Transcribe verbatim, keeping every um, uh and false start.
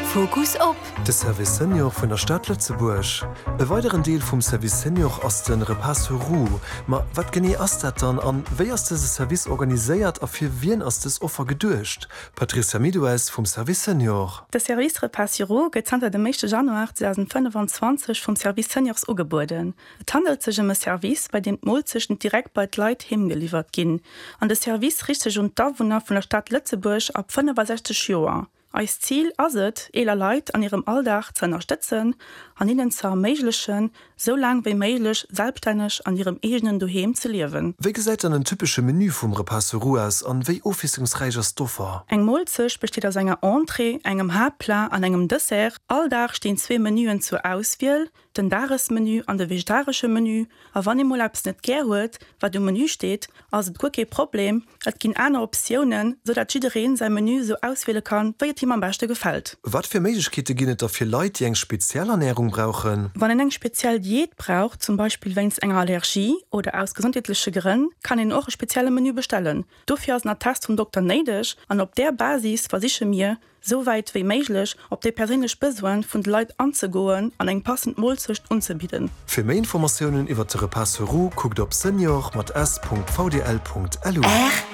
Fokus op. De Service Senior vun der Stad Lëtzebuerg. E weideren Deel vum Service Senior ass de Repas sur roues. Ma wat genee ass dat dann an wéi ass dëse Service organiséiert a fir wien ass dës Offer geduecht? Patricia Midoues vum Service Senior. De Service Repas sur roues gëtt zanter dem éischte Januar zweedausendfënnefenzwanzeg vum Service Seniors ugebueden. Et handelt sech ëm e Service, bei deem d'Moolzechten direkt bei d'Leit heem geliwwert ginn. An de Service riicht sech un d'Awunner vun der Stad Lëtzebuerg ab fënnefasechzeg Joer. Eist Zil ass et, eeler Leit an hirem Alldag ze ënnerstëtzen an hinnen ze erméiglechen, sou laang wéi méiglech selbstänneg an hirem eegenen Doheem ze liewen. Wéi gesäit dann en typesche Menü vum Repas sur roues aus an wéi ofwiesslungsräich ass d'Offer? Eng Moolzecht besteet aus enger Entrée, engem Haaptplat an engem Dessert. All Dag stinn zwee Menüen zur Auswiel, den Dagesmenü an de vegetaresche Menü. A wann ee mol eppes net gär huet, wat um Menü steet, ass et guer kee Problem, et ginn aner Optiounen, sou dat jiddereen säi Menü sou auswiele kann, wéi et him am beschte gefält. Wat fir Méiglechkeete ginn et da fir Leit, déi eng speziell Ernärung brauchen? Wann een eng speziell Diät brauch, zum Beispill wéinst enger Allergie oder aus gesondheetleche Grënn, kann een och e spezielle Menü bestellen. Dofir ass en Attest vum Dokter néideg an op där Basis versiche mir, sou wäit wéi méiglech op déi perséinlech Besoine vun de Leit anzegoen an eng passend Moolzecht unzebidden. Fir méi Informatiounen iwwert de Repas sur roues kuckt op senior mat s Punkt vdl Punkt lu. R